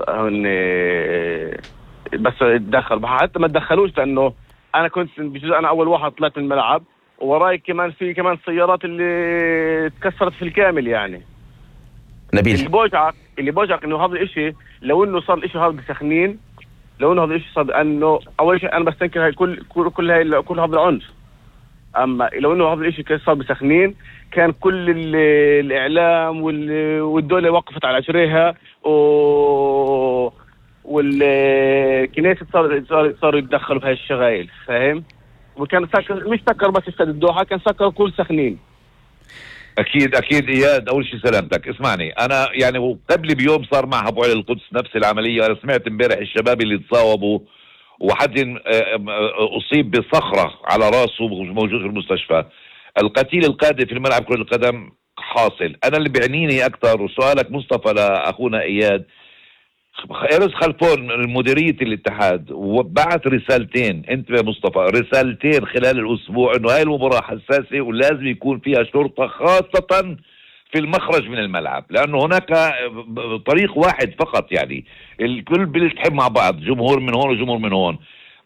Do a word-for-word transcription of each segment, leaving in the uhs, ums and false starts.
هن بس تدخل حتى ما تدخلوش، لانه انا كنت بجوز انا اول واحد طلعت من الملعب، ووراي كمان في كمان سيارات اللي تكسرت في الكامل. يعني نبيل، اللي بوجعك اللي بوجعك انه هذا الاشي، لو انه صار الاشي هذا بسخنين، لو انه هذا الاشي صار، انه اول شيء انا بستنكر هاي كل كل كل هاي كل هذا العنف. اما لو انه هذا الاشي كان صار بسخنين، كان كل الاعلام والدوله وقفت على عشريها، و والكنيسة صار صار صاروا يتدخلوا بهاي الشغايل، فاهم؟ وكان سكر، مش سكر بس استاد الدوحة، كان سكر كل سخنين. اكيد اكيد اياد، اول شيء سلامتك. اسمعني، انا يعني قبل بيوم صار معها ابو علي القدس نفس العمليه. انا سمعت امبارح الشباب اللي تصاوبوا، وحد اصيب بصخره على راسه موجود في المستشفى. القتيل القادم في الملعب كرة القدم حاصل. انا اللي بيعنيني اكثر، وسؤالك مصطفى لاخونا اياد، ارز خلفون مديرية الاتحاد وبعت رسالتين، انت يا مصطفى، رسالتين خلال الاسبوع انه هاي المباراة حساسة ولازم يكون فيها شرطة، خاصة في المخرج من الملعب، لانه هناك طريق واحد فقط. يعني الكل بيلتحم مع بعض، جمهور من هون وجمهور من هون.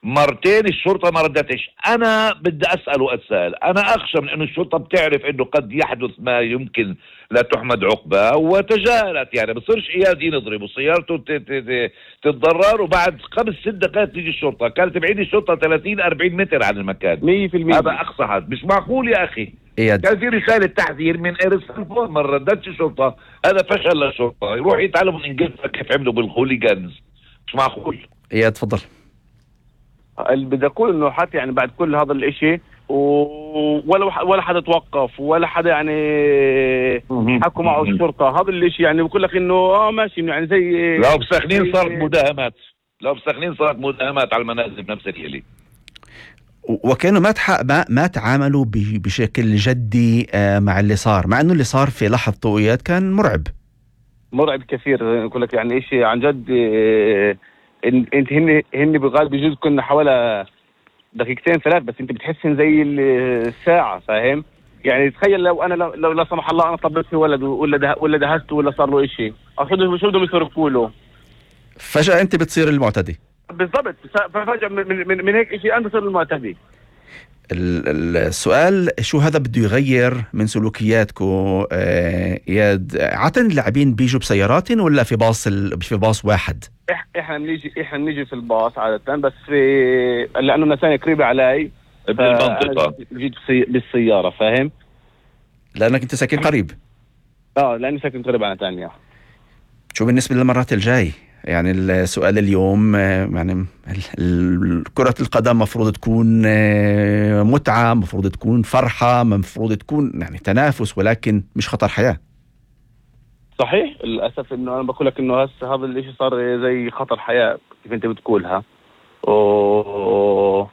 مرتين الشرطة ما ردتش. انا بدي اسأل واتساءل، انا اخشى من انه الشرطة بتعرف انه قد يحدث ما يمكن لا تحمد عقبة وتجاهلت. يعني بصيرش اياد ينضرب وسيارته تتضرر وبعد خمس ست دقائق تيجي الشرطة. كانت بعيد الشرطة ثلاثين أربعين متر عن المكان. مية في المية هذا اقصى حد. مش معقول يا اخي. إياد. كان في رسالة تحذير من ارس خلفون، ما ردتش الشرطة. هذا فشل للشرطة. يروح يتعلم من انجلترا كيف عملوا بالخوليجانز. مش معقول. اياد تفضل. اللي بدي اقول انه حتى يعني بعد كل هذا الاشي ولا ولا حدا توقف ولا حدا يعني حكوا معه الشرطه. هذا الاشي يعني بقول لك انه اه ماشي، يعني زي لو بسخنين صارت مداهمات، لو بسخنين صارت مداهمات على المنازل بنفس الليله. وكانوا ما ما ما تعاملوا بشكل جدي مع اللي صار، مع انه اللي صار في لحظة طويات كان مرعب مرعب كثير. بقول لك يعني اشي عن جد. انت هن هن بالغالب بجوز كنا حوالي دقيقتين ثلاث، بس انت بتحسن زي الساعه، فاهم؟ يعني تخيل لو انا لو لا سمح الله انا طبيت في ولد ولا ده ولا دهسته ولا صار له شيء، اخذه شو بدهم يتركوا له؟ فجاه انت بتصير المعتدي. بالضبط، ففجاه من, من, من هيك شيء انا بصير المعتدي. السؤال شو هذا بده يغير من سلوكياتكم اياد؟ عادة اللاعبين بيجوا بسيارات ولا في باص في باص واحد؟ احنا بنيجي احنا بنيجي في الباص عادة، بس في لانه نساني قريبة علي بالمنطقة جيت بالسيارة، فاهم؟ لانك انت ساكن قريب. اه لاني ساكن قريب على تانية. شو بالنسبة للمرات الجاي؟ يعني السؤال اليوم، يعني كرة القدم مفروض تكون متعة، مفروض تكون فرحة، مفروض تكون يعني تنافس، ولكن مش خطر حياة. صحيح. للأسف إنه أنا بقول لك إنه هسه هذا الإشي صار زي خطر حياة كيف أنت بتقولها. أوه.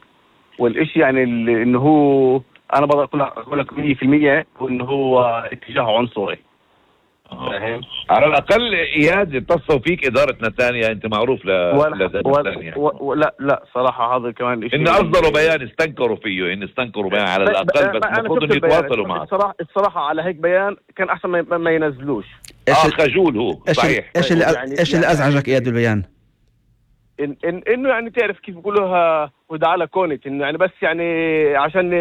والإشي يعني إنه هو أنا بقول لك مية في المية وإنه هو اتجاه عنصري. فاهم؟ على الأقل إياد اتصلوا فيك إدارة نتانيا، أنت معروف ل نتانيا. لا لا صراحة هذا كمان إشي. إن أصدروا بيان استنكروا فيه، إن استنكروا بيان على الأقل، بس المفروض إنه يتواصلوا معه. الصراحة الصراحة على هيك بيان كان أحسن ما, ما ينزلوش. آه خجول هو. صحيح. إيش اللي يعني إيش اللي أزعجك إياد بالبيان؟ إن إن إنه يعني تعرف كيف بيقولوها وده على كونت، إنه يعني بس يعني عشان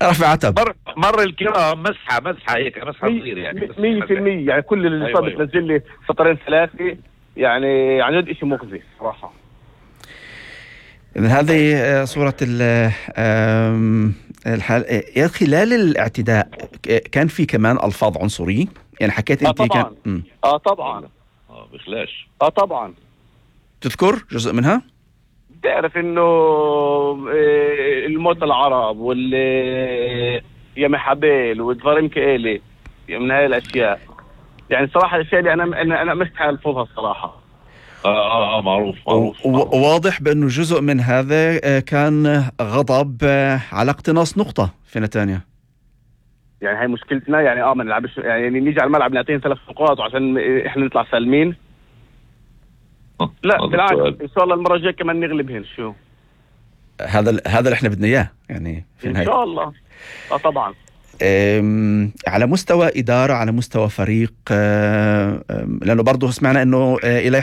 رفع عتب. مر مر الكرام مسحة مسحة هيك مسحة صغيرة يعني مية في المية. يعني كل اللي صار أيوة بتنزل لي سطرين ثلاثة، يعني عن جد إشي مخزي صراحة. هذه صورة الحال. خلال الاعتداء كان في كمان ألفاظ عنصرية، يعني حكيت آه أنت طبعا. كان اه طبعا اه بخلاش اه طبعا. تذكر جزء منها؟ تعرف انه الموت العرب واللي يا محابيل والظريم كإلي من هاي الاشياء. يعني صراحة الاشياء اللي انا انا انا مستحيل الفظها الصراحة. اه اه, آه معروف معروف, معروف. وواضح بانه جزء من هذا كان غضب على اقتناص نقطة في نتانيا. يعني هاي مشكلتنا. يعني اه ما نلعبش، يعني نيجي على الملعب نعطيهم ثلاث نقاط عشان احنا نطلع سالمين. لا بالعكس، ان شاء الله المره الجايه كمان نغلبهن. شو هذا هذا اللي احنا بدنا اياه يعني في ان شاء الله. اه طبعا. على مستوى إدارة، على مستوى فريق، لأنه برضو سمعنا أنه إلي